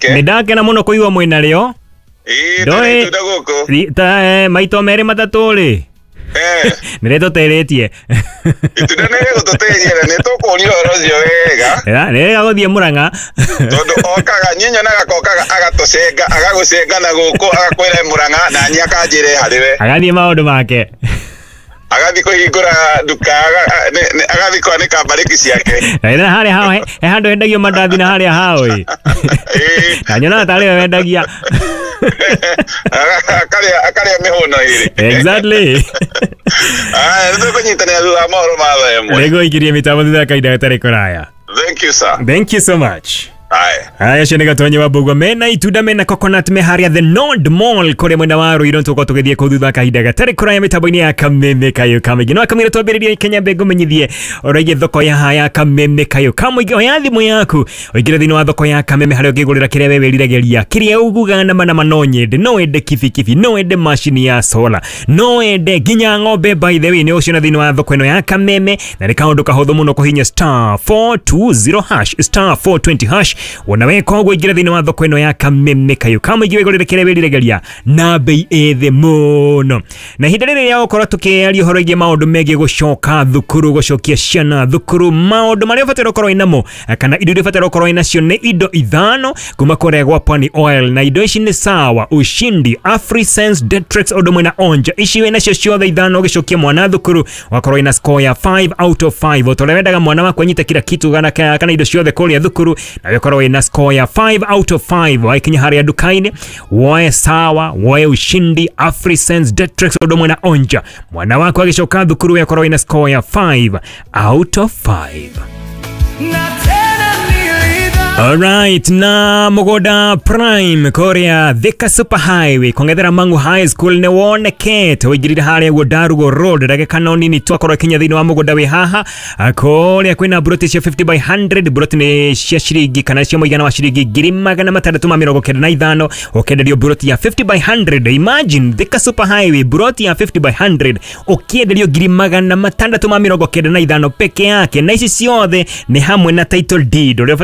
Nĩ ndakena mũno kũigua mwĩna rĩo. Ĩĩ, Ndoĩ- tũrĩ itunda gũkũ. Ta maito merĩ matatũ rĩ, nĩ rĩtũteithĩtie. Itunda nĩ rĩgũtũteithia na nĩ tũkũria ũhoro ũcio wega. Nĩ wega gũthiĩ Mũrang'a. Tondũ okaga, niĩ nyonaga kokaga agatũcenga, agagũcenga na gũkũ, agakwĩra Mũrang'a, na niĩ akanjĩra harĩ we. Agathiĩ maũndũ make. Agathiĩ kũhingũra nduka, agathiĩ kwanĩka mbarĩki ciake. Na harĩa hao he handũ hendagio mandathi na harĩa hao ĩ. Na nyonaga tarĩ we wendagia. Akarĩa mĩhũno ĩrĩ. Exactly. Aya, nĩ tũkũnyitanĩra thutha wa mohoro ma thaa 1. Nĩguo ingĩrie mĩtambo thutha wa kahinda gatarĩ kũraya. Thank you, sir. Thank you so much. Aya. Haya, ũcio nĩ Gatonyi wa Mbũgua mena itunda, mena coconut, me harĩa The Nord Mall kũrĩa mwena wa Ruiru. Tũgũkorwo tũgĩthiĩ kũu thutha wa kahinda gatarĩ kũraya mĩtambo-inĩ ya Kameme Kayũ ka Mũingĩ. No akamwĩra twambĩrĩrie Kenya mbe ngũmenyithie ũraigie thoko ya haya Kameme Kayũ ka Mũingĩ. Oya thimũ yaku ũingĩre thĩinĩ wa thoko ya Kameme harĩa ũngĩgũrĩra kĩrĩa we wĩriragĩria, kĩrĩa uguga nama nama. No nyende, no wende kibikibi, no wende macini ya solar, no wende nginya ng'ombe. By the way, nĩ ũciona thĩinĩ wa thoko ĩno ya Kameme, na nĩ kaũndũ kahũthũ mũno kũhinya *420#, *420#. Wona weka ũguo, ingĩra thĩinĩ wa thoko ĩno ya Kameme Kayũ ka Mũingĩ, wĩgũrĩre kĩrĩa wĩriragĩria na bei ĩ thĩ mũno. Na ihinda rĩrĩ rĩa gũkorwo tũkĩaria ũhoro wĩgiĩ maũndũ megiĩ gũcoka thukuru, gũcokia ciana thukuru, maũndũ marĩa ũbataire gũkorwo wĩnamo kana indo iria ũbataire gũkorwo wĩnacio nĩ indo ithano kuma kũrĩa gwa Pwani Oil, na indo ici nĩ Sawa, Ushindi, Afrisense, Detrex ũndũ ũmwe na Onja. Ici wĩnacio ciothe ithano ũgĩcokia mwana thukuru, wakorwo wĩna score ya 5 out of 5. O ta ũrĩa wendaga mwana waku anyite kila kitu kana indo ciothe kũrĩa thukuru, na ũkorwo wĩna score ya 5 out of 5. Wakinya harĩa nduka-inĩ, woe Sawa, woe Ushindi, Afrisense, Detrex ũndũ ũmwe na Onja, mwana waku agĩcoka thukuru yakorwo wĩna score ya 5 out of 5. Na tena nilidhani. Alright, na mũgũnda prime kũrĩa Thika Super Highway kũng'ethera Mangu High School nĩ wonekete. Ũingĩrire harĩa guo Ndarugo Road, ndagĩka no nini tu akorwo akinya thĩinĩ wa mũgũnda wĩ haha. Kũrĩa kwĩna buroti cia 50 by 100. Buroti nĩ cia ciringi kana cia mũigana wa ciringi 695,000, ũkĩenderio buroti ya 50 by 100. Imagine, Thika Super Highway, buroti ya 50 by 100 ũkĩenderio 695,000 peke yake, na ici ciothe nĩ hamwe na title deed ũrĩa.